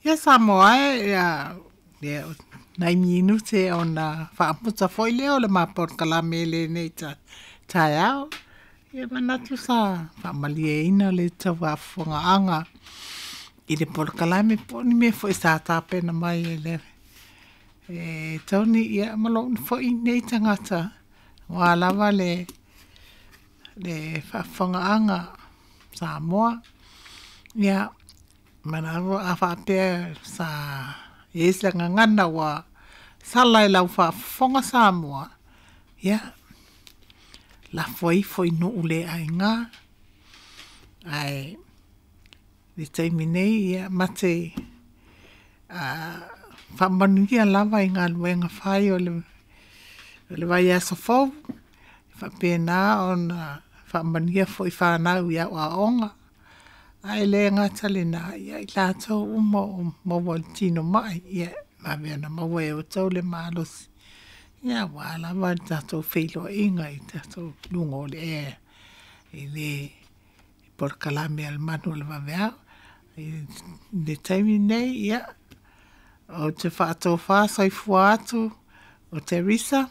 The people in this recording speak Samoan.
Ia Samoa e, ia, ia nai minute ona faamuta foi lea o le ma polokalame i lenei taeao. Ia manatu sa faamalieina le tauafofoga i le polokalame po o ni mea foi sa tapena mai e le e Tony ia ma lou foi nei tagata aua lava le faafofogaaga Samoa. Ia, manatu a faapea sa i ai se gagana ua sala i lau faafofoga Samoa, ia, lafo ifo i nuu le aina, ae i le taimi nei, ia, mate faamanuia lava i galuega fai o le vaiaso fou, faapena ona faamanuia foi i fanau i au aoaoga, ae le gata i lena, ia i latou uma o maua i le tino mai, ia vave ona maua e outou le malosi, ia aua lava le tatou feiloaiga i tatou luga o le ea i le polokalame a le Manu o le Vaveao. I le taimi lenei, ia, ou te faatofa soifua atu o Teresa.